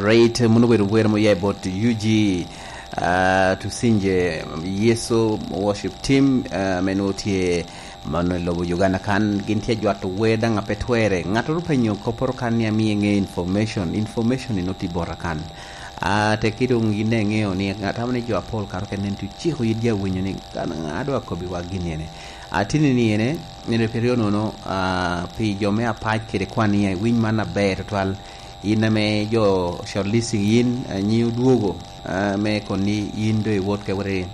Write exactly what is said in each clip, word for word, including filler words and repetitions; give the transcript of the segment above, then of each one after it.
Great, mono obedo wer mo ya i bot U G, ah, Tusinje Yesu Worship Team, ah, ame nwoŋo tye mano i lobo Uganda kan, gin tye ajwato wer daŋ a pe twere. Ŋattoro openyo kopporo kan ni amie ŋe information, information ino tye bota kan. Ah, tekki doŋ yin daŋ iŋeo ni atamo ni jo apol kato kene nen tuciko yit jo awinyo ni kan ŋa dwa kobbi wa gin ene. Atini ni ene, ene periodo nono, ah, pi jo me apac kede kwan ni iwiny man aber tutwal. In ame jo shortlisting yin, eh, nyi odwogo, eh, me koni yin do iwot ke wore,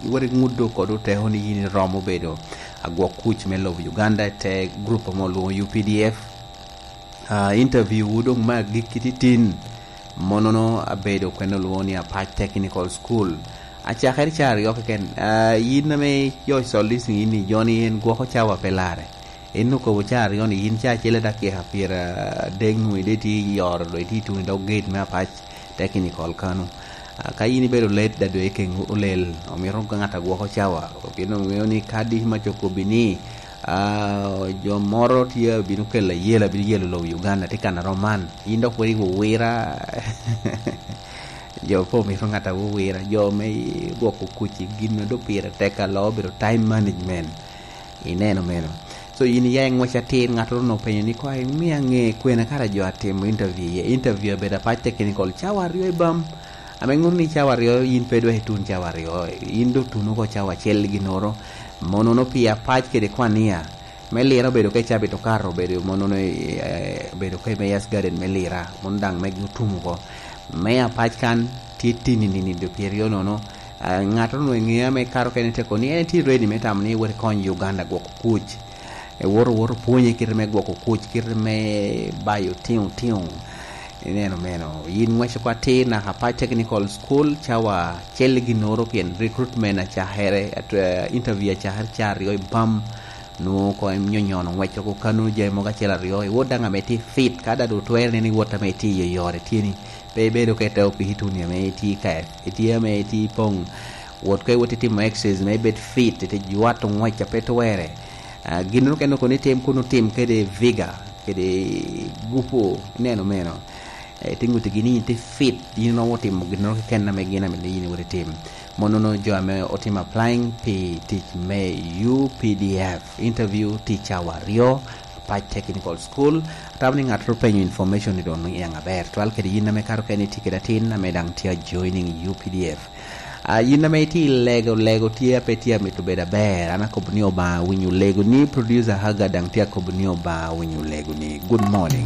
iwore ŋuddo kod oteko ni yin iromo bedo agwok kuc me lobo Uganda i te group ame olwoŋo U P D F. Ah, interview wu doŋ me agikki titin, monono abedo kwene olwoŋo ni Apac Technical School. Acakere ca aryo keken. Ah, yin ame jo shortlisting yin ni joni en gwoko cawa pe larre. En okobo ca aryo ni yin ca acel dakika pyera adek nwoŋo ide tye i oro, dok itye i tuŋ i dog gate me Apac Technical kano. Ah, ka yin ibedo let, da dwe keŋ olel, omito ŋat a gwoko cawa, pien oŋeo ni ka dic mac okobbi ni, ah, jo moro tye abino kelo ayela, abino yelo lobo Uganda, tye kan a rom man. Yin dok pwod iwuwira. Jo pe omito ŋat a wuwira, jo me gwoko kuc i gin a do pire tek alo, obedo time management. Ineno meno. So, yin iya i ŋwec atir, ŋattoro onwoŋo openyo ni, "Koŋ imia ŋe kwene kara jo atimo interview iye?" Interview abedo Apac Technical, cawa aryo i bam. Ame ŋuto ni cawa aryo, yin pe dwek itun cawa aryo, yin do tun oko cawa acel ginnoro. Monono pi Apac kede Kwania, me lira obedo ka icabit okato, obedo monono, eh, obedo ka i Mayor's Garden me lira, mono daŋ megi otum oko. Me Apac kan tye tini nini dwe pyeraryo nono. Ah, ŋattoro onwoŋo eŋeo ame kato kene teko ni en tye ready me tamo ni wot ikony Uganda gwoko kuc. Ewoto, woto pwonye kite me gwoko kuc, kite me bayo tiŋo tiŋo. Ineno meno, yin ŋwec oko atir naka Apac Technical School, cawa acel ginnoro pien recruitment acakere, at-, eh, interview acakere ca aryo i bam. Nwoŋo koŋ nyonyono ŋwec oko kano jami mogo acel aryo, iwot daŋ ame tye fit, ka daŋ otwere neno iwot ame itye i yore tye ni, pe ibedo ka ite opiki tuni ame itye ka, itye ame itye poŋ, wot ka iwot itimo exercise me ibed fit, ite jwato ŋwec a pe twere. Ah, ginnoro kene okoni tim kun otim kede vigor, kede gupu, ineno meno. Eh, te ŋuttigi ni yin tye fit, yin iromo timo ginnoro keken ame gin ame yin iwot itim. Monono jo ame otimo applying pi tic me U P D F, interview tye cawa aryo, Apac Technical School. Atamo ni ŋattoro penyo information ni doŋ niaŋ aber. Twal kede yin ame kato kene itye kede atin ame daŋ tye a joining U P D F. Ah, yin ame itye i lego, lego tye a pe tye a mito bedo aber. An akobo ni Obaŋa winyo lego ni, producer Haga daŋ tye akobo ni Obaŋa winyo lego ni. Good morning.